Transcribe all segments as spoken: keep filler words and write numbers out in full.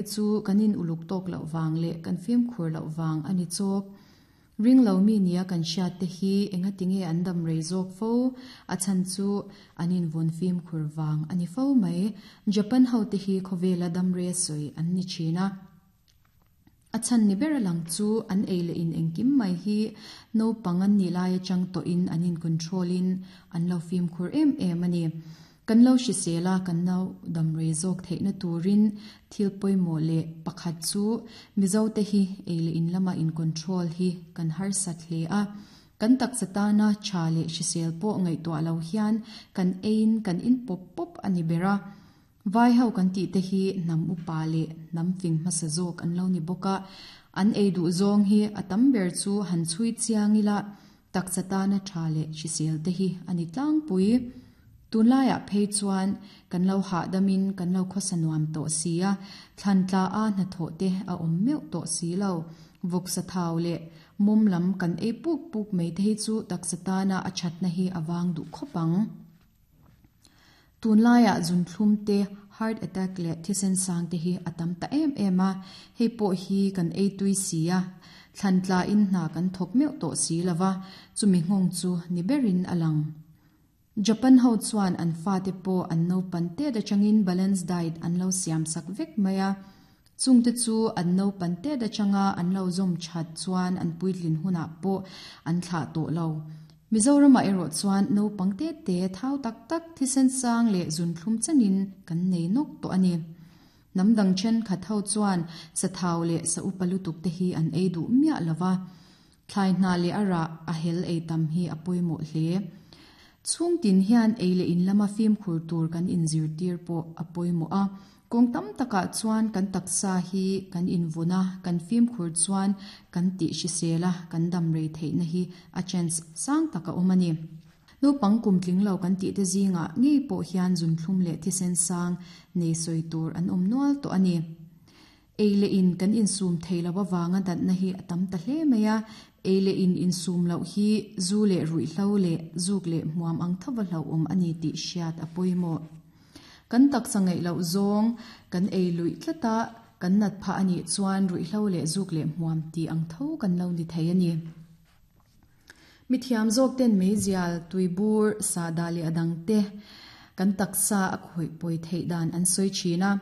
Chu kan in uluk tawk loh vang leh kan fimkhur loh vang a ni chawk. Ring lo mi nia kan hriat te hi engatinge an dam rei zawk fo? A chhan chu an invawn fimkhur vang a ni fo mai. Japan ho te hi khawvela dam rei sawi an ni thin a. A chhan ni ber a lang chu an ei leh in engkim mai hi naupang an nih lai atang tawhin an in control in an lo fimkhur em em a ni. Kan lo hrisel a, kan lo dam rei zawk theihna turin thil pawimawh leh pakhat chu Mizote hi ei leh in lama in control hi kan harsat hle a. Kan taksa tana tha leh hrisel pawh ngaihtuah lo hian kan eiin kan in pawp pawp a ni ber a. Vai ho kan tih te hi hnam upa leh hnam fing hmasa zawk an lo ni bawk a. An ei duh zawng hi a tam ber chu han chhui chiang ila taksa tana tha leh hrisel te hi a ni tlangpui. Tunlaiah phei chuan kan lo hahdamin kan lo khawsa nuam tawh si a, thlan tla a hnathawh te a awm meuh tawh si lo. Vawksa thau leh mawm lam kan ei puk puk mai te hi chu taksa tana a thatna hi a vang duh khawp ang. Tunlaiah zunthlum te, heart attack leh thisen sang te hi a tam ta em em a, hei pawh hi kan ei tui si a, thlan tla in hna kan thawk meuh tawh si lova, chumi nghawng chu ni berin a lang. Japan ho chuan an fate pawh an naupan tet atangin balance diet an lo siam sak vek mai a. Chungte chu an naupan tet atanga an lo zawm that chuan an puitlin hunah pawh an thlah tawh lo. Mizoramah erawh chuan naupang te te thau tak tak thisen sang leh zunthlum chenin kan nei nawk tawh a ni. Hnam dang thenkhat ho chuan sa thau leh sa upa lutuk te hi an ei duh miah lova. Thlai hna leh a rah a hel ei tam hi a pawimawh hle. Chhungtin hian ei leh in lama fimkhur tur kan inzirtir pawh a pawimawh a. Kawng tam takah chuan kan taksa hi kan invun a, kan fimkhur chuan kan tih hrisel a, kan dam rei theihna hi a chance sang tak a awm a ni. Naupang kum tling lo kan tih te zingah ngei pawh hian zunthlum leh thisen sang nei sawi tur an awm nual tawh a ni. Ei leh in kan insum thei lo avanga natna hi a tam ta hle mai a, ei leh in insum loh hi zu leh ruihhlo leh zuk leh hmuam ang thova hlauhawm a ni tih hriat a pawimawh. Kan taksa ngaih loh zawng kan ei luih tlat a, kan nat phah a nih chuan ruihhlo leh zuk leh hmuam tih ang tho kan lo ni thei a ni. Mithiam zawk ten meizial, tuibur, sahdah leh a dang te kan taksa a khawih pawi theih dan an sawi thin a.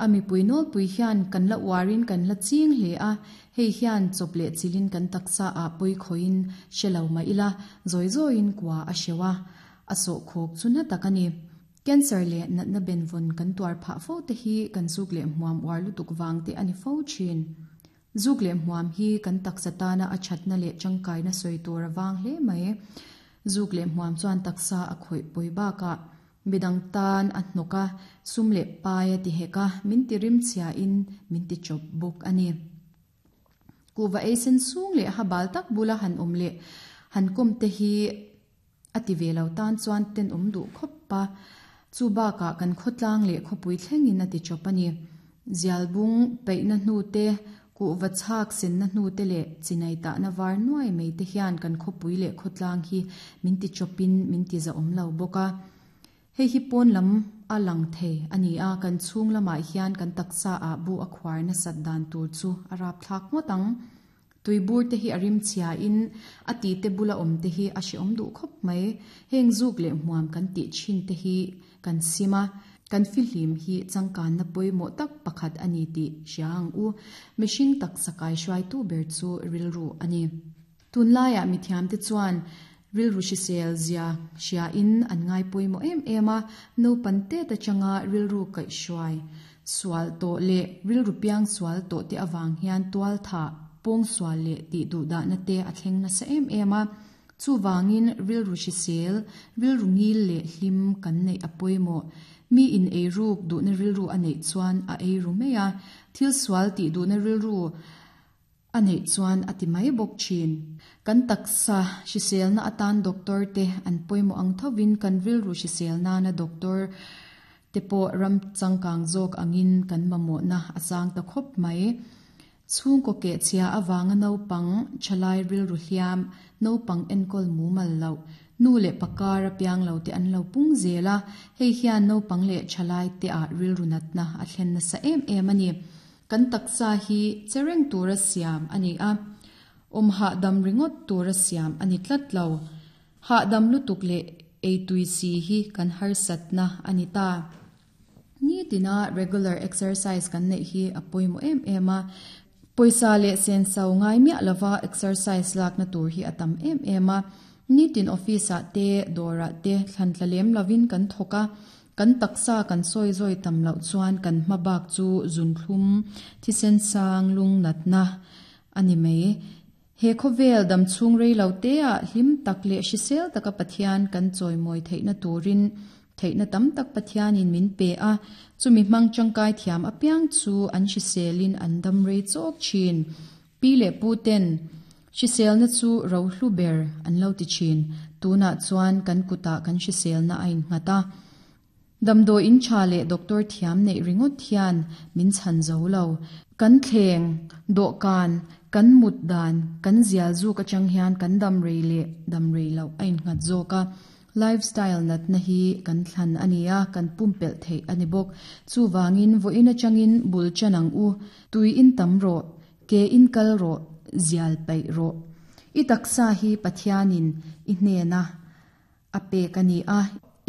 A mipui nawlpui hian kan la uarin kan la ching hle a, hei hian chawp leh chilin kan taksa ah pawi khawiin hre lo mah ila, zawi zawiin kua a hreuh a, a sawhkhawk chu na tak a ni. Cancer leh natna benvawn kan tuar phah fo te hi kan zuk leh hmuam uar lutuk vang te a ni fo thin. Zuk leh hmuam hi kan taksa tana a thatna leh tangkaina sawi tur a vang hle mai. Zuk leh hmuam chuan taksa a khawih pawi bakah midang tan a hnawk a, sum leh pai a ti hek a, min ti rim chhiain min ti chawp bawk a ni. Kuhva ei sen sung leh ha bal tak bula han awm leh han kawm te hi a ti ve lo tan chuan tenawm duh khawp a, chu bakah kan khawtlang leh khawpui thlengin a ti chawp a ni. Zialbung peihna hnu te, kuhva chhak senna hnu te leh chinai tahna var nuai mai te hian kan khawpui leh khawtlang hi min ti chawpin min ti zahawm lo bawk a. Hei hi pawn lam a lang thei a ni a, kan chhung lamah hian kan taksa ah bu a khuar nasat dan tur chu a rapthlak ngawt ang. Tuibur te hi a rim chhiain a ti te bula awm te hi a hrehawm duh khawp mai. Heng zuk leh hmuam kan tih thin te hi kan sim a, kan fihlim hi changkanna pawimawh tak pakhat a ni tih hria ang u. Mihring taksa kai hruaitu ber chu rilru a ni. Tunlaiah mithiamte chuan rilru hrisel zia hriain an ngai pawimawh em em a, naupan tet atanga rilru kaihhruai sual tawh leh rilru piang sual tawh te avang hian tual thah, pawng sual leh tih duh dahna te a thleng nasa em em a. Chuvangin rilru hrisel, rilru ngil leh hlim kan neih a pawimawh. Mi in eiruk duhna rilru a neih chuan a eiru mai a, thil sual tih duhna rilru a neih chuan a ti mai bawk thin. Kan taksa hriselna atan doctor te an pawimawh ang thovin kan rilru hrisel nana doctor te pawh ram changkang zawk angin kan mamawhna a sang ta khawp mai. Chhungkaw keh chhia avanga naupang thalai rilru hliam, naupang enkawl mumal loh, nu leh pakar a piang lo te an lo pung zel a, hei hian naupang leh thalai te ah rilru natna a thlen nasa em em a ni. Kan taksa hi chereng tura siam ani a. Om ha dam ringot tura siam ani tlat lo. Ha dam lutuk le ei tui si hi kan har satna ani ta. Ni tina regular exercise kan nei hi apoimo em em a. Poisa le sen sau ngai mi alawa exercise lak na tur hi atam em em a. Ni tin office a te dora te thlan tlalem lovin kan thoka kan taksa kan soi zoi tam lo chuan kan mabak chu zun thlum thisen sang lung natna ani mei. He khovel dam chung rei lo te a hlim tak le hrisel taka Pathian kan choi moi theina turin theina tam tak Pathian in min pe a chumi mang changkai thiam apiang chu an hriselin an dam rei chok chin pi le pu ten hrisel na chu ro hlu ber an lo ti chin tuna chuan kan kuta kan hrisel na ain ngata damdo in cha le doctor thiam nei ringot thian min chan zo lo kan thleng do kan kan mut dan kan zial zu ka chang hian kan dam rei le dam rei lo ain ngat zo ka lifestyle nat na hi kan thlan ania kan pumpel thei ani bok chu wangin vo ina changin bul chanang u tui in tam ro ke in kal ro zial pai ro i taksa hi Pathianin i hne na ape kani a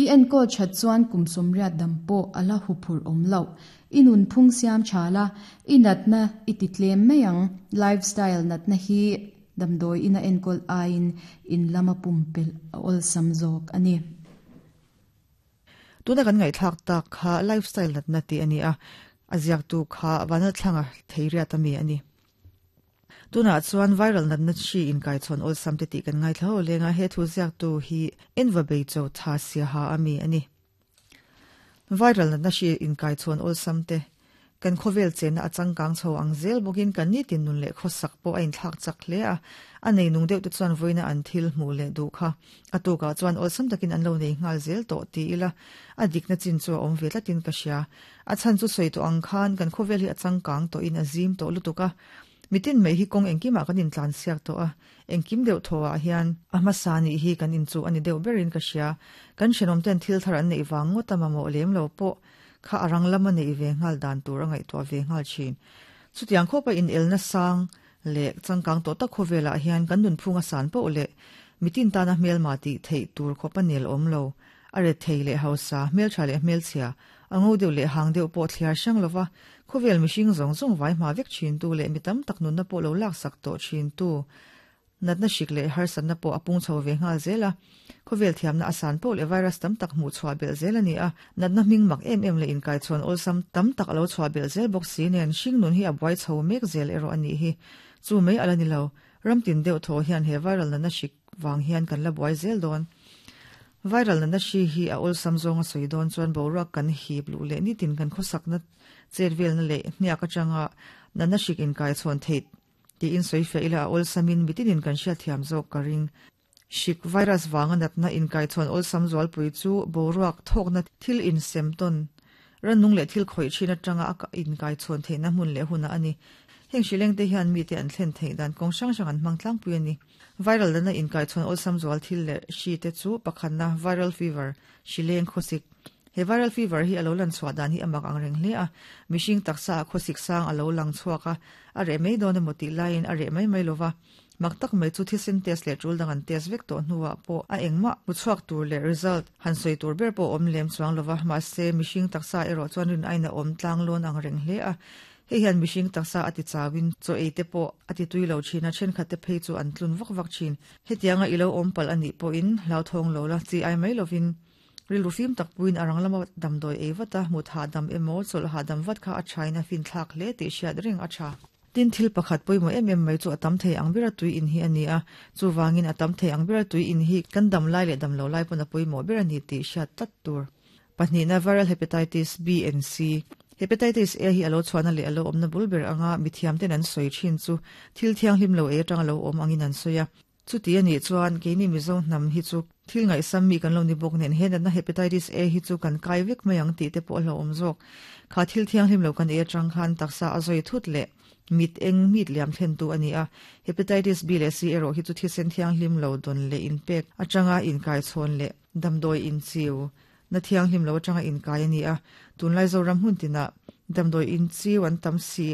i en ko chat chuan kumsum riat dampo ala huphur om lo inun phung siam chala inat na ititlem mayang lifestyle nat na hi damdoi ina enkol ain in lama pumpel ol samzok ani. Tuna kan ngai thak tak kha lifestyle nat na ti ani a aziak tu kha wana thlanga theiria tami ani. Tuna chuan viral nat na chi in kai chon ol sam te ti kan ngai thlo lenga he thu ziak tu hi enva bei cho tha sia ha ami ani. Viral nat na chi in kai chon ol sam te kan khovel chen a changkang chho ang zel bokin kan ni tin nun le khosak po ain thak chak le a anei nung deuh te chuan voina an thil hmu le du kha atuka chuan ol sam takin an lo nei ngal zel to ti ila a dikna chin chu om ve tlatin ka sia a chan chu soi to ang khan kan khovel hi a changkang to in azim to lutuka mitin mei hi kong engkima kan in tlan siak to a engkim deuh thowa hian amasani hi kan in chu ani deuh berin ka sia kan shenom ten thil thar an nei wang ngota mamo lem lo po kha arang lama nei ve ngal dan tur angai to ve ngal chin chutiang khopa in elna sang le changkang to ta khovela hian kan nun phunga san po le mitin ta na hmel ma ti thei tur khopa nel om lo are thei le hausa hmel tha le hmel chhia ango deuh le hang deuh po thliar sang lova khovel mihring zong zong vai ma vek chin tu le mitam tak nun na po lo lak sak to chin tu natna shik le har san na po apung chho ve ngal zela khovel thiam na asan po le virus tam tak mu chwa bel zela ni a natna ming mak em em le in kai chon ol sam tam tak alo chwa bel zel bok si nen hring nun hi abuai chho mek zel ero ani hi chu mei ala ni lo ramtin deuh tho hian he viral na na shik wang hian kan la buai zel don viral na na shi hi a ol sam zong a soi don chuan boruak kan hip lu le ni tin kan khosak na chervel na le hniak atanga na na shik in kai chon thei ti in soi fe ila ol samin mitinin kan hria thiam zo karing shik virus wanga natna in kai chon ol sam zwal pui chu boruak thok na thil in semton ranung le thil khoi thina tanga aka in kai chon the na mun le huna ani heng shileng te hian mi te an thlen thei dan kong sang sang an mang tlang pui ani viral na in kai chon ol sam zwal thil le shi te chu pakhan na viral fever shileng khosik he viral fever hi alo lan chwa dan hi amak ang reng hle a mishing taksa khosik sang alo lang chhuaka a re mei don moti line a re mai mai lova maktak mai chu thisen test le tul dang an test vek to hnuwa po a engma muchhuak tur le result han soi tur ber po om lem chuang lova ma se mishing taksa ero chuan rin aina om tlang lon ang reng hle a he hian mishing taksa ati chawin cho eite po ati tuilo china chen khate phei chu an tlun vak vak chin hetianga ilo om pal ani po in lau thong lo la chi ai mai lovin rilu fim tak puin arang lama damdoi evata mutha dam emo chol ha dam vat kha a china fin thlak le ti hriat ring a tha tin thil pakhat poimo em em mai chu atam thei ang bera tui in hi ani a chu wangin atam thei ang bera tui in hi kan dam lai le dam lo lai pon a poimo bera ni ti hriat tat tur pahnih na viral hepatitis B and C hepatitis A hi alo chhuana le alo omna bulber anga mithiam ten an soi thin chu thil thiang hlim lo e tang alo om angin an soya chu ti ani chuan keini mizo nam hi chu thil ngai sam mi kan lo ni bok nen hen na hepatitis A hi chu kan kai vek mai ang ti te pawh lo om zawk kha thil thiang hlim lo kan e tang khan taksa a zoi thut le mit eng mit liam thlen tu ani a hepatitis B le C ero hi chu thisen thiang hlim lo don le in pek atanga in kai chhon le damdoi in chiu na thiang hlim lo atanga in kai ani a tunlai zoram hun tina damdoi in chiu an tam si